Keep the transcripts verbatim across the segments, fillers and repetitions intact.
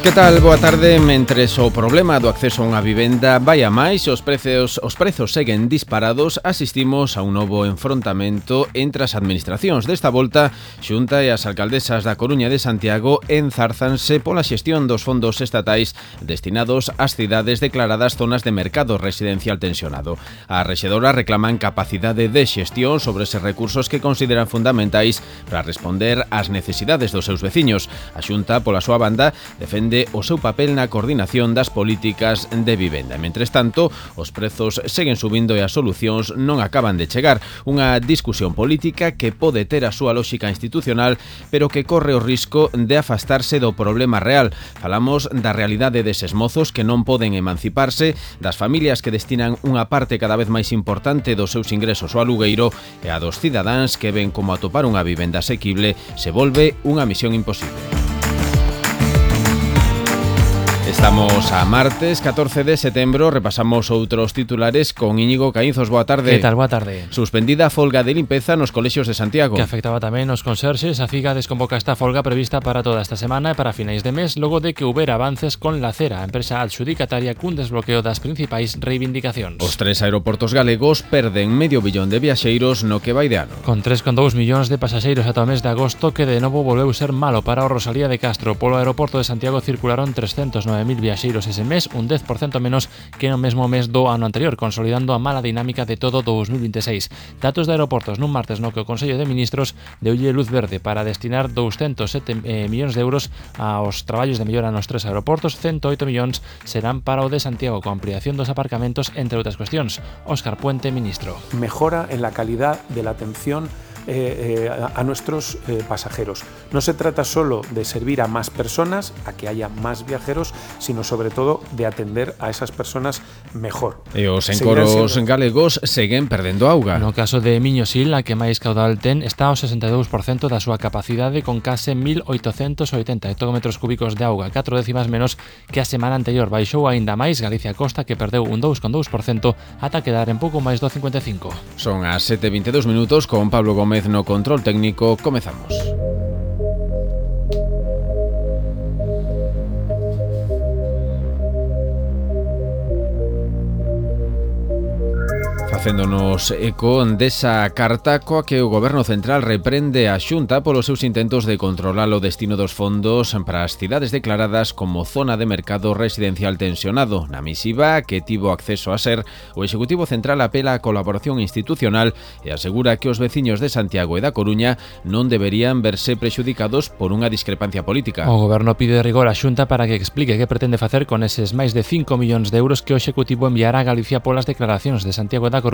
Que tal? Boa tarde. Mentres o problema do acceso a unha vivenda vai a máis, os prezos, os prezos seguen disparados, asistimos a un novo enfrontamento entre as administracións. Desta volta, Xunta e as alcaldesas da Coruña e de Santiago enzárzanse pola xestión dos fondos estatais destinados ás cidades declaradas zonas de mercado residencial tensionado. As rexedoras reclaman capacidade de xestión sobre eses recursos que consideran fundamentais para responder ás necesidades dos seus veciños. A Xunta, pola súa banda, defende o seu papel na coordinación das políticas de vivenda. Mentres tanto, os prezos seguen subindo e as solucións non acaban de chegar. Unha discusión política que pode ter a súa lógica institucional, pero que corre o risco de afastarse do problema real. Falamos da realidade deses mozos que non poden emanciparse, das familias que destinan unha parte cada vez máis importante dos seus ingresos ao alugueiro e a dos cidadáns que ven como atopar unha vivenda asequible se volve unha misión imposible. Estamos a martes, catorce de setembro, repasamos outros titulares con Íñigo Caínzos. Boa tarde. Que tal? Boa tarde. Suspendida a folga de limpeza nos colexios de Santiago. Que afectaba tamén os conserxes. A Figa desconvoca esta folga prevista para toda esta semana e para finais de mes, logo de que houbera avances con Lacera, a empresa adxudicataria cun desbloqueo das principais reivindicacións. Os tres aeroportos galegos perden medio billón de viaxeiros no que vai de ano. Con tres coma dous millóns de pasaxeiros ata o mes de agosto, que de novo volveu ser malo para o Rosalía de Castro. Polo aeroporto de Santiago circularon trescentos nove mil viaxeiros ese mes, un dez por cento menos que no mesmo mes do ano anterior, consolidando a mala dinámica de todo do dos mil vinte e seis. Datos de aeroportos nun martes no que o Consello de Ministros deulle luz verde para destinar douscentos sete eh, millóns de euros aos traballos de mellora nos tres aeroportos. cento oito millóns serán para o de Santiago, con ampliación dos aparcamentos, entre outras cuestións. Óscar Puente, ministro. Mejora en la calidad de la atención Eh, eh, a, a nuestros eh, pasajeros. No se trata solo de servir a más personas, a que haya más viajeros, sino sobre todo de atender a esas personas mejor. E os encoros siendo... galegos seguen perdendo auga. No caso de Miñosil, a que máis caudal ten, está ao sesenta e dous por cento da súa capacidade, con case mil oitocentos oitenta hectómetros cúbicos de auga, catro décimas menos que a semana anterior. Baixou aínda máis Galicia Costa, que perdeu un dous coma dous por cento ata quedar en pouco máis do cincuenta e cinco. Son as sete e vinte e dous minutos, con Pablo Gómez no control técnico. Comezamos. Facéndonos eco desa carta coa que o Goberno Central reprende a Xunta polos seus intentos de controlar o destino dos fondos para as cidades declaradas como zona de mercado residencial tensionado. Na misiva que tivo acceso a ser, o Executivo Central apela á colaboración institucional e asegura que os veciños de Santiago e da Coruña non deberían verse prexudicados por unha discrepancia política. O Goberno pide rigor á Xunta para que explique que pretende facer con eses máis de cinco millóns de euros que o Executivo enviará a Galicia polas declaracións de Santiago e da Coruña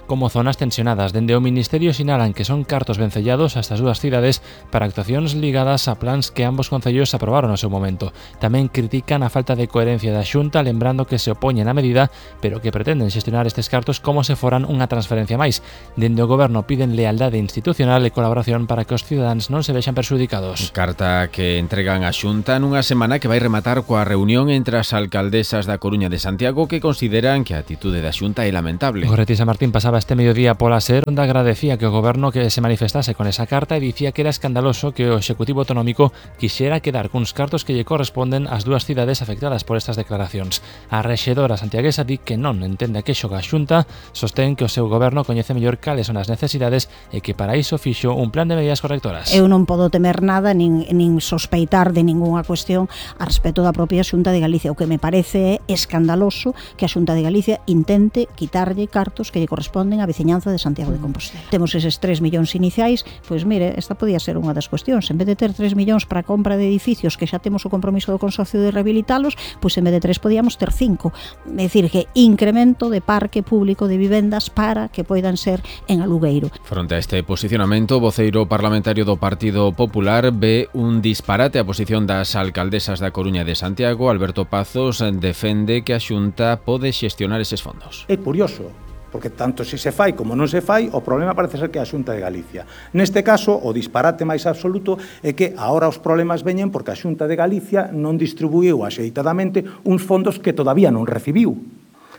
como zonas tensionadas. Dende o Ministerio sinalan que son cartos vencellados a estas dúas cidades para actuacións ligadas a plans que ambos concellos aprobaron no seu momento. Tamén critican a falta de coherencia da Xunta, lembrando que se opoñen á medida, pero que pretenden xestionar estes cartos como se foran unha transferencia máis. Dende o Goberno piden lealdade institucional e colaboración para que os cidadáns non se vexan perxudicados. Carta que entregan á Xunta nunha semana que vai rematar coa reunión entre as alcaldesas da Coruña e de Santiago, que consideran que a atitude da Xunta é lamentable. San Martín pasaba este mediodía pola SER, onde agradecía que o Goberno que se manifestase con esa carta e dicía que era escandaloso que o Executivo Autonómico quixera quedar cuns cartos que lle corresponden ás dúas cidades afectadas por estas declaracións. A rexedora santiaguesa di que non entende a que xoga a Xunta, sostén que o seu Goberno coñece mellor cales son as necesidades e que para iso fixo un plan de medidas correctoras. Eu non podo temer nada nin, nin sospeitar de ningunha cuestión a respecto da propia Xunta de Galicia. O que me parece é escandaloso que a Xunta de Galicia intente quitarlle cartos que lle corresponden á veciñanza de Santiago de Compostela. Temos eses tres millóns iniciais, pois mire, esta podía ser unha das cuestións. En vez de ter tres millóns para a compra de edificios que xa temos o compromiso do Consorcio de rehabilitalos, pois en vez de tres podíamos ter cinco. É dicir, que incremento de parque público de vivendas para que poidan ser en alugueiro. Fronte a este posicionamento, o voceiro parlamentario do Partido Popular ve un disparate a posición das alcaldesas da Coruña e de Santiago. Alberto Pazos defende que a Xunta pode xestionar eses fondos. É curioso, porque tanto se se fai como non se fai, o problema parece ser que é a Xunta de Galicia. Neste caso, o disparate máis absoluto é que agora os problemas veñen porque a Xunta de Galicia non distribuiu axeitadamente uns fondos que todavía non recibiu.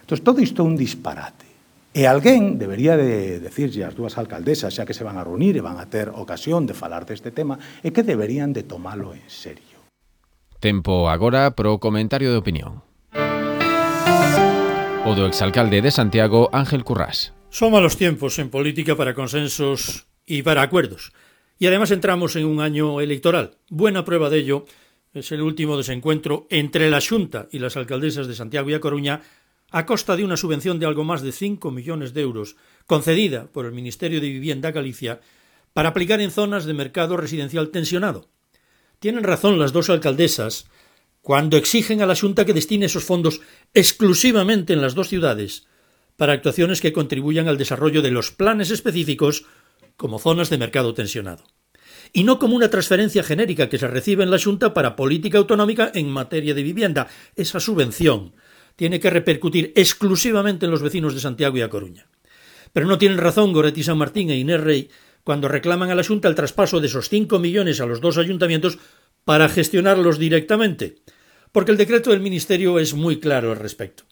Entón, todo isto é un disparate. E alguén debería de decirlle ás dúas alcaldesas, xa que se van a reunir e van a ter ocasión de falar deste tema, é que deberían de tomalo en serio. Tempo agora pro comentario de opinión. O do exalcalde de Santiago, Ángel Currás. Son malos tiempos en política para consensos y para acuerdos. Y además entramos en un año electoral. Buena prueba de ello es el último desencuentro entre la Xunta y las alcaldesas de Santiago y A Coruña a costa de una subvención de algo más de cinco millones de euros concedida por el Ministerio de Vivienda Galicia para aplicar en zonas de mercado residencial tensionado. Tienen razón las dos alcaldesas cuando exigen a la Xunta que destine esos fondos exclusivamente en las dos ciudades para actuaciones que contribuyan al desarrollo de los planes específicos como zonas de mercado tensionado, y no como una transferencia genérica que se recibe en la Xunta para política autonómica en materia de vivienda. Esa subvención tiene que repercutir exclusivamente en los vecinos de Santiago y A Coruña. Pero no tienen razón Goretti San Martín e Inés Rey cuando reclaman a la Xunta el traspaso de esos cinco millones a los dos ayuntamientos para gestionarlos directamente, porque el decreto del Ministerio es muy claro al respecto.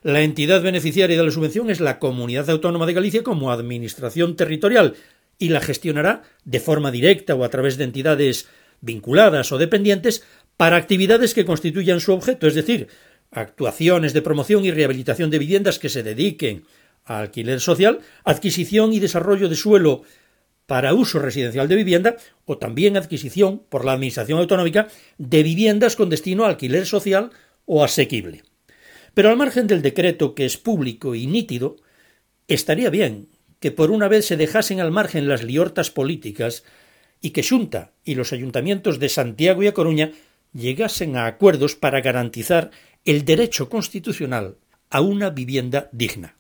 La entidad beneficiaria de la subvención es la Comunidad Autónoma de Galicia como administración territorial y la gestionará de forma directa o a través de entidades vinculadas o dependientes para actividades que constituyan su objeto, es decir, actuaciones de promoción y rehabilitación de viviendas que se dediquen a alquiler social, adquisición y desarrollo de suelo para uso residencial de vivienda o también adquisición por la Administración Autonómica de viviendas con destino a alquiler social o asequible. Pero al margen del decreto, que es público y nítido, estaría bien que por una vez se dejasen al margen las liortas políticas y que Xunta y los ayuntamientos de Santiago y A Coruña llegasen a acuerdos para garantizar el derecho constitucional a una vivienda digna.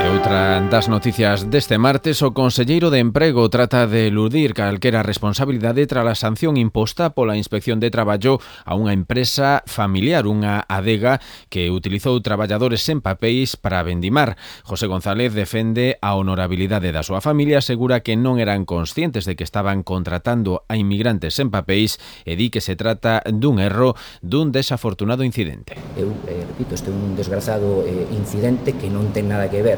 Outra das noticias deste martes, o conselleiro de Emprego trata de eludir calquera responsabilidade tras a sanción imposta pola Inspección de Traballo a unha empresa familiar, unha adega que utilizou traballadores sen papéis para vendimar. José González defende a honorabilidade da súa familia, asegura que non eran conscientes de que estaban contratando a inmigrantes sen papéis e di que se trata dun erro, dun desafortunado incidente. Eu eh, repito, este é un desgrazado eh, incidente que non ten nada que ver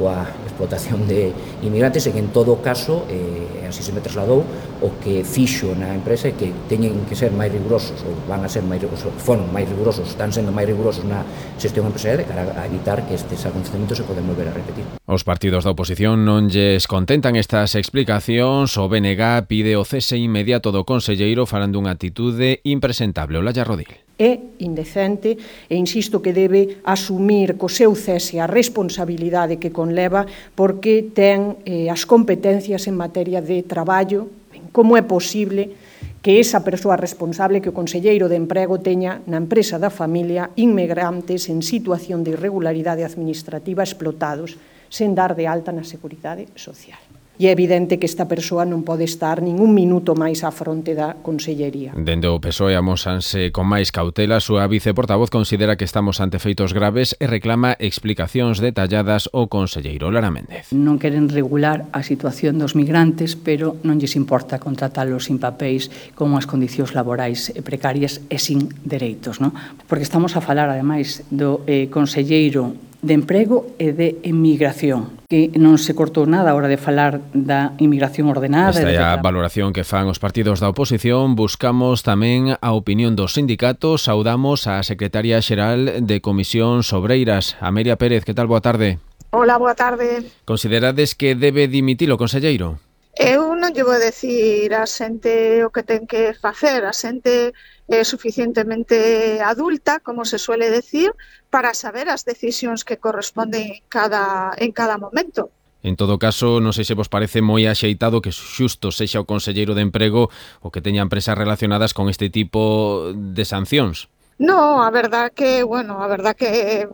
coa explotación de inmigrantes e que en todo caso, eh, así se me trasladou, o que fixo na empresa é que teñen que ser máis rigurosos ou van a ser máis rigurosos, foron máis rigurosos, están sendo máis rigurosos na xestión empresarial de cara a evitar que estes acontecementos se poden volver a repetir. Os partidos da oposición non lles contentan estas explicacións. O B N G pide o cese inmediato do conselleiro falando dunha actitude impresentable. Olalla Rodil. É indecente e insisto que debe asumir co seu cese a responsabilidade que conleva porque ten eh, as competencias en materia de traballo. Como é posible que esa persoa responsable, que o conselleiro de Emprego teña na empresa da familia inmigrantes en situación de irregularidade administrativa explotados sen dar de alta na Seguridade Social? E é evidente que esta persoa non pode estar nin un minuto máis á fronte da Consellería. Dende o P S O E amósanse con máis cautela. A súa viceportavoz considera que estamos ante feitos graves e reclama explicacións detalladas ao conselleiro. Lara Méndez. Non queren regular a situación dos migrantes, pero non lles importa contratalos sin papéis con as condicións laborais precarias e sin dereitos, non? Porque estamos a falar, ademais, do eh, conselleiro de Emprego e de Emigración, que non se cortou nada a hora de falar da inmigración ordenada. Esta é a valoración que fan os partidos da oposición. Buscamos tamén a opinión dos sindicatos. Saudamos a secretaria xeral de Comisións Obreiras, Amelia Pérez. Que tal? Boa tarde. Hola, boa tarde. Considerades que debe dimitir o conselleiro? Eu non lle vou decir a xente o que ten que facer, a xente é suficientemente adulta, como se suele decir, para saber as decisións que corresponden en cada, en cada momento. En todo caso, non sei se vos parece moi axeitado que xusto sexa o conselleiro de Emprego o que teña empresas relacionadas con este tipo de sancións. No, a verdad que, bueno, a verdad que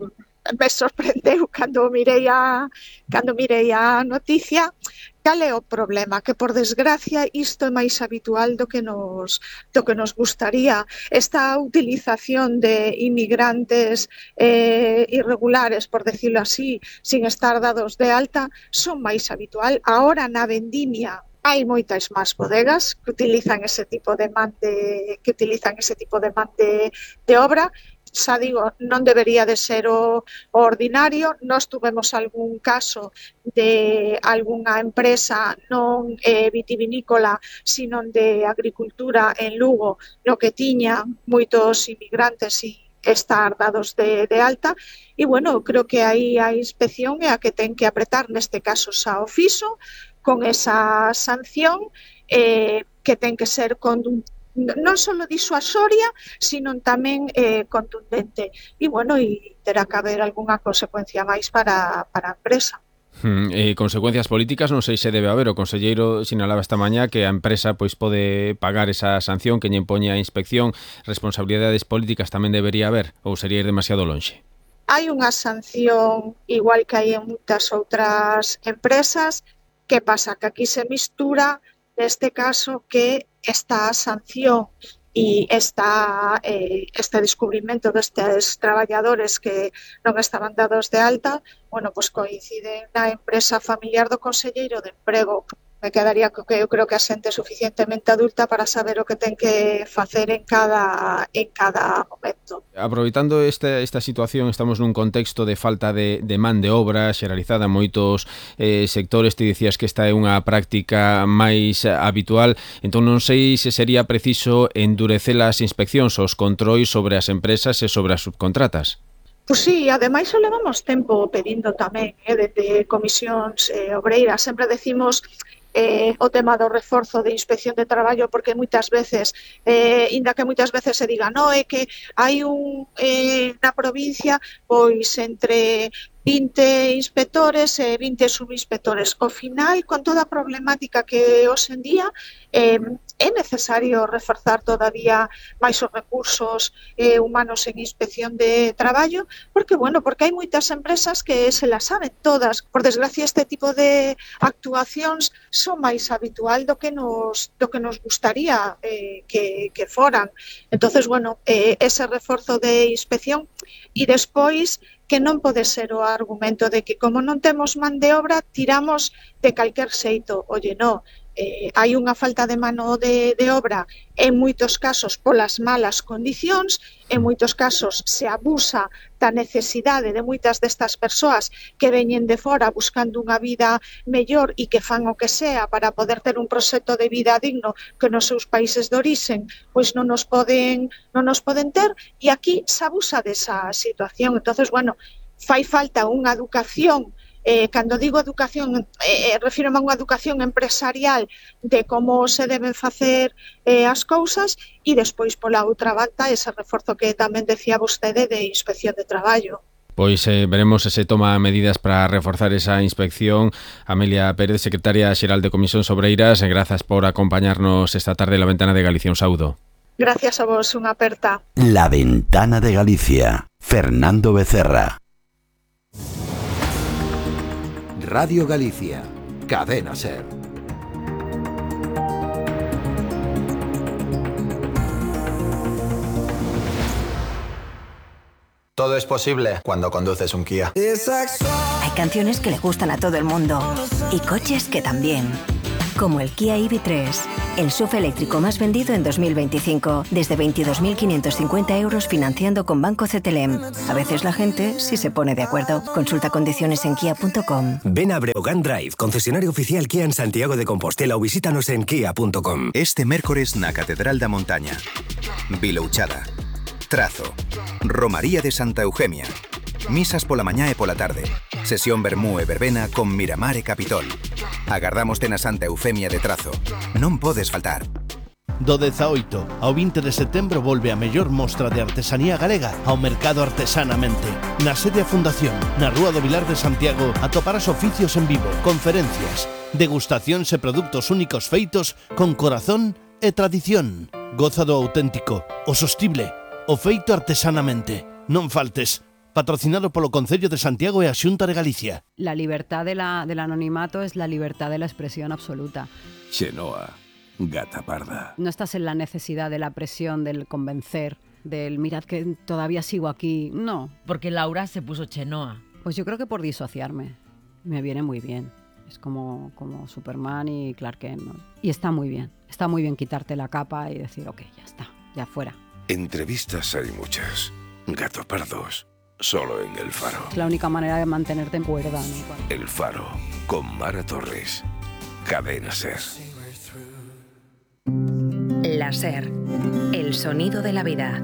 me sorprendeu cando mirei a, cando mirei a noticia. Cal é o problema? Que, por desgracia, isto é máis habitual do que nos, do que nos gustaría. Esta utilización de inmigrantes eh, irregulares, por decirlo así, sin estar dados de alta, son máis habitual. Ahora, na vendimia, hai moitas máis bodegas que utilizan ese tipo de man de, que utilizan ese tipo de man de, de obra. xa digo, non debería de ser o, o ordinario. Nós tuvemos algún caso de algunha empresa non eh, vitivinícola, sino de agricultura en Lugo, no que tiña moitos inmigrantes e estar dados de, de alta, e, bueno, creo que aí a inspección é a que ten que apretar, neste caso xa o fixo, con esa sanción eh, que ten que ser con non só disuasoria, sino tamén eh, contundente. E, bueno, e terá que haber algunha consecuencia máis para, para a empresa. Hmm, eh, consecuencias políticas non sei se debe haber. O conselleiro sinalaba esta mañá que a empresa pois pode pagar esa sanción que lle impoñe a inspección. Responsabilidades políticas tamén debería haber, ou sería ir demasiado lonxe? Hai unha sanción igual que hai en moitas outras empresas. Que pasa? Que aquí se mistura, neste caso, que esta sanción e esta, eh, este descubrimento destes traballadores que non estaban dados de alta, bueno, pues coinciden na empresa familiar do conselleiro de Emprego. Me quedaría que eu creo que a xente é suficientemente adulta para saber o que ten que facer en cada, en cada momento. Aproveitando esta, esta situación, estamos nun contexto de falta de, de man de obra xeralizada en moitos eh, sectores. Te dicías que esta é unha práctica máis habitual, entón non sei se sería preciso endurecer as inspeccións, os controis sobre as empresas e sobre as subcontratas. Pois sí, ademais o levamos tempo pedindo tamén, eh, desde comisións eh, obreiras. Sempre decimos eh, o tema do reforzo de inspección de traballo, porque moitas veces, eh, inda que moitas veces se diga, no, é que hai un eh, na provincia, pois entre vinte inspectores e vinte subinspectores. Ao final, con toda a problemática que hoxe en día, eh, é necesario reforzar todavía máis os recursos eh, humanos en inspección de traballo, porque, bueno, porque hai moitas empresas que se las saben todas. Por desgracia, este tipo de actuacións son máis habitual do que nos, do que nos gustaría eh, que, que foran. Entonces, bueno, eh, ese reforzo de inspección e despois que non pode ser o argumento de que como non temos man de obra, tiramos de calquer xeito. Oye, non, eh, hai unha falta de mano de, de obra en moitos casos polas malas condicións, en moitos casos se abusa da necesidade de moitas destas persoas que veñen de fora buscando unha vida mellor e que fan o que sea para poder ter un proxecto de vida digno que nos seus países de orixen pois non nos poden, non nos poden ter, e aquí se abusa desa situación. Entonces, bueno, fai falta unha educación. Eh, cando digo educación, eh, refírome a unha educación empresarial de como se deben facer eh, as cousas, e despois pola outra banda ese reforzo que tamén decía vostede de inspección de traballo. Pois eh, veremos se se toma medidas para reforzar esa inspección. Amelia Pérez, secretaria xeral de Comisións Obreiras, e grazas por acompañarnos esta tarde en La Ventana de Galicia. Un saúdo. Gracias a vos, unha aperta. La Ventana de Galicia. Fernando Becerra. Radio Galicia, Cadena SER. Todo es posible cuando conduces un Kia. Hay canciones que le gustan a todo el mundo y coches que también. Como el Kia E V tres, el S U V eléctrico más vendido en dos mil veinticinco, desde veintidós mil quinientos cincuenta euros financiando con Banco C T L M. A veces la gente sí se pone de acuerdo. Consulta condiciones en kia punto com. Ven a Breogán Drive, concesionario oficial Kia en Santiago de Compostela, o visítanos en kia punto com. Este mércores na Catedral da Montaña, Vilouchada, Trazo, Romaría de Santa Eugemia, misas pola mañá e pola tarde, sesión vermú e verbena con Miramar e Capitol. Agardámoste na Santa Eufemia de Trazo. Non podes faltar. Do dezaoito ao vinte de setembro volve a mellor mostra de artesanía galega ao Mercado Artesanamente. Na sede a Fundación, na Rúa do Vilar de Santiago, atoparás oficios en vivo, conferencias, degustacións e produtos únicos feitos con corazón e tradición. Goza do auténtico, o sostible, o feito artesanamente. Non faltes. Patrocinado polo Concello de Santiago e a Xunta de Galicia. La libertad de la, del anonimato es la libertad de la expresión absoluta. Xenoa, gata parda. No estás en la necesidad de la presión, del convencer, del mirad que todavía sigo aquí. No. Porque Laura se puso Xenoa. Pues yo creo que por disociarme. Me viene muy bien. Es como, como Superman y Clark Kent, ¿no? Y está muy bien. Está muy bien quitarte la capa y decir, ok, ya está, ya fuera. Entrevistas hay muchas. Gato Pardos, solo en El Faro. Es la única manera de mantenerte en cuerda, ¿no? El Faro, con Mara Torres. Cadena Ser. La Ser, el sonido de la vida.